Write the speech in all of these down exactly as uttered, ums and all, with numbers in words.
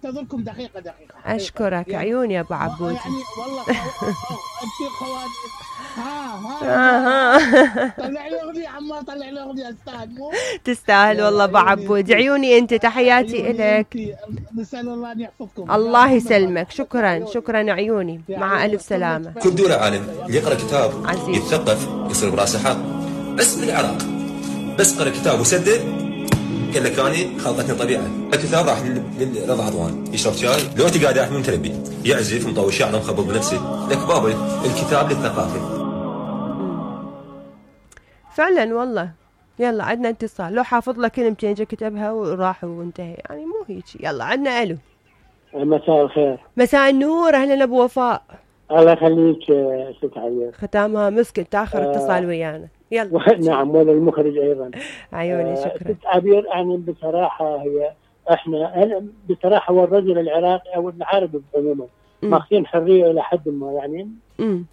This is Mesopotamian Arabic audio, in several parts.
انتظركم دقيقه دقيقه. اشكرك يعني عيوني يا ابو عبود. يعني والله انت خواني. ها ها ها طلع لي اغنيه عمار، طلع لي اغنيه استاذ. مو تستاهل والله ابو عبود. عيوني انت، تحياتي الك. نسال الله ان يحفظكم. الله يسلمك. شكرا شكرا عيوني، مع الف سلامه. كل دولة عالم يقرا كتاب عزيز. يتثقف يصير براسه حق. بس من العراق بس قرا كتاب وسدد قال لك اني خلطتني طبيعه. الكتاب راح لرضا عضوان يشرب شاي، لو انت قاعد احمل متربي يعزف مطول شعره مخبط بنفسه لك بابا الكتاب للثقافه. فعلا والله. يلا عندنا اتصال، لو حافظ لك كلمتين جا كتبها وراح وانتهى، يعني مو هيك. يلا عندنا الو. مساء الخير. مساء النور، اهلا ابو وفاء. الله يخليك ست عيال. ختامها مسك تاخر اتصال ويانا. يلا. نعم ولا المخرج ايضا. عيوني شكرا. ست عبير يعني بصراحه هي احنا انا بصراحه هو الرجل العراقي او العربي عموما ماخذين حريه الى حد ما يعني. امم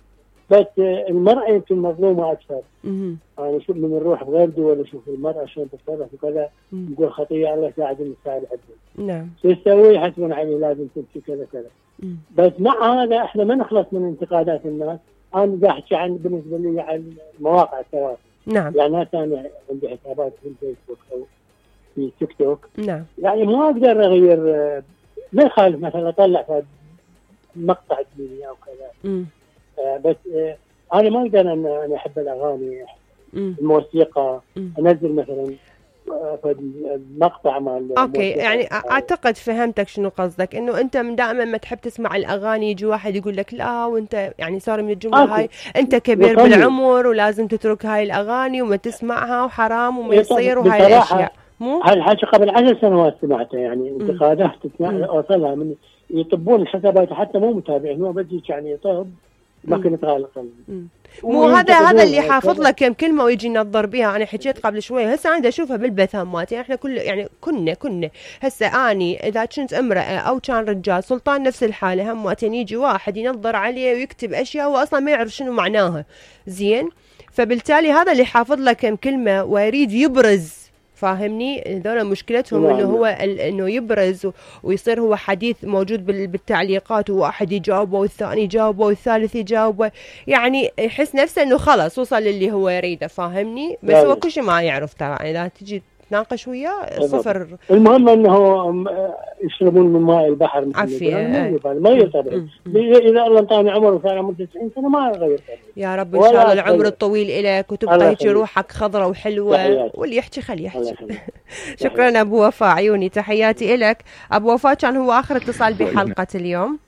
بس المراه يمكن مظلومه اكثر. امم يعني شوف من نروح بغير دول نشوف المراه شلون تتصرف وكذا، نقول خطيه الله يساعدنا نساعد عدل. نعم. شو تسوي؟ يحسبون عليه لازم تمشي كذا كذا. بس مع هذا احنا ما نخلص من انتقادات الناس. انا قاعد احكي عن بالنسبه لي عن مواقع التواصل. نعم. يعني انا عندي حسابات في الفيسبوك او في تيك توك. نعم. يعني ما اقدر اغير، ما يخالف مثلا اطلع في مقطع ديني او كذا. آه بس آه انا ما اقدر ان انا احب الاغاني مم. الموسيقى. مم. انزل مثلا في المقطع مال اوكي يعني اعتقد فهمتك شنو قصدك، انه انت من دائما ما تحب تسمع الاغاني يجي واحد يقول لك لا وانت يعني صار من الجمله أوكي. هاي انت كبير يطلع. بالعمر ولازم تترك هاي الاغاني وما تسمعها وحرام وما يصير وهاي الاشياء. مو هالحكي قبل عشر سنوات سمعته، يعني انتقادات اوصلها من يطبون الحسابات حتى مو متابعين، هو بدي يعني يطب ما كنت غالقا. مو هذا هذا اللي حافظ لك كم كلمه ويجي ينظر بها. انا حكيت قبل شوي، هسه انا اشوفها بالبثامات. يعني احنا كل يعني كنا كنا هسه اني اذا كنت امراه او كان رجال سلطان نفس الحاله، همتين يجي واحد ينظر عليه ويكتب اشياء هو اصلا ما يعرف شنو معناها زين. فبالتالي هذا اللي حافظ لك كم كلمه ويريد يبرز، فاهمني؟ هذول مشكلتهم انه هو انه يبرز ويصير هو حديث موجود بالتعليقات، وواحد يجاوبه والثاني يجاوبه والثالث يجاوبه، يعني يحس نفسه انه خلص وصل اللي هو يريده، فاهمني؟ بس هو كل شيء ما يعرف طبعا. اذا تجي تناقش وياه صفر. المهم انه يشربون من ماء البحر عافيه ما يطبع. اذا الله انطاني عمر وصار عمره تسعين سنه ما اغير. يا رب ان شاء الله العمر الطويل لك وتبقى هيك روحك خضره وحلوه، واللي يحكي خليه يحكي. شكرا ابو وفاء، عيوني تحياتي لك. ابو وفاء كان هو اخر اتصال بحلقه اليوم.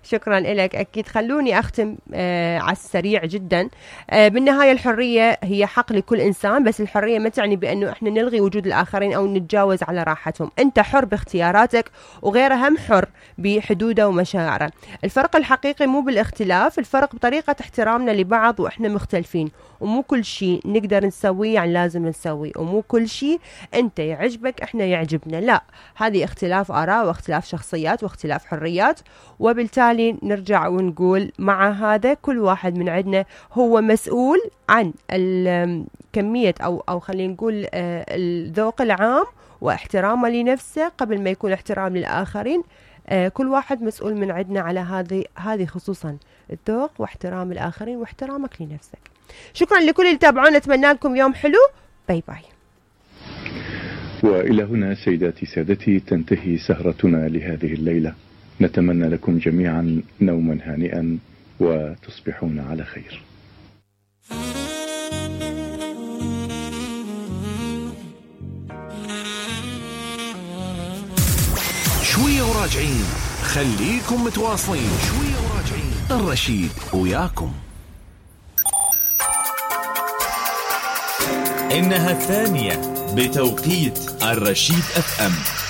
شكرا لك. أكيد خلوني أختم آه على السريع جدا. آه بالنهاية الحرية هي حق لكل إنسان، بس الحرية ما تعني بأنه إحنا نلغي وجود الآخرين أو نتجاوز على راحتهم. أنت حر باختياراتك وغيره هم حر بحدوده ومشاعره. الفرق الحقيقي مو بالاختلاف، الفرق بطريقة احترامنا لبعض وإحنا مختلفين. ومو كل شيء نقدر نسويه يعني لازم نسويه، ومو كل شيء أنت يعجبك إحنا يعجبنا، لا، هذه اختلاف آراء واختلاف شخصيات واختلاف حريات. وبالتالي نرجع ونقول مع هذا كل واحد من عندنا هو مسؤول عن الكمية أو أو خلينا نقول الذوق العام واحترامه لنفسه قبل ما يكون احترام للآخرين. كل واحد مسؤول من عندنا على هذه هذه خصوصا الذوق واحترام الآخرين واحترامك لنفسك. شكرا لكل اللي تابعونا، اتمنى لكم يوم حلو. باي باي. وإلى هنا سيداتي سادتي تنتهي سهرتنا لهذه الليلة. نتمنى لكم جميعا نوما هانئا وتصبحون على خير. شوية وراجعين، خليكم متواصلين. شوية وراجعين، الرشيد وياكم. إنها الثانية بتوقيت الرشيد اف ام.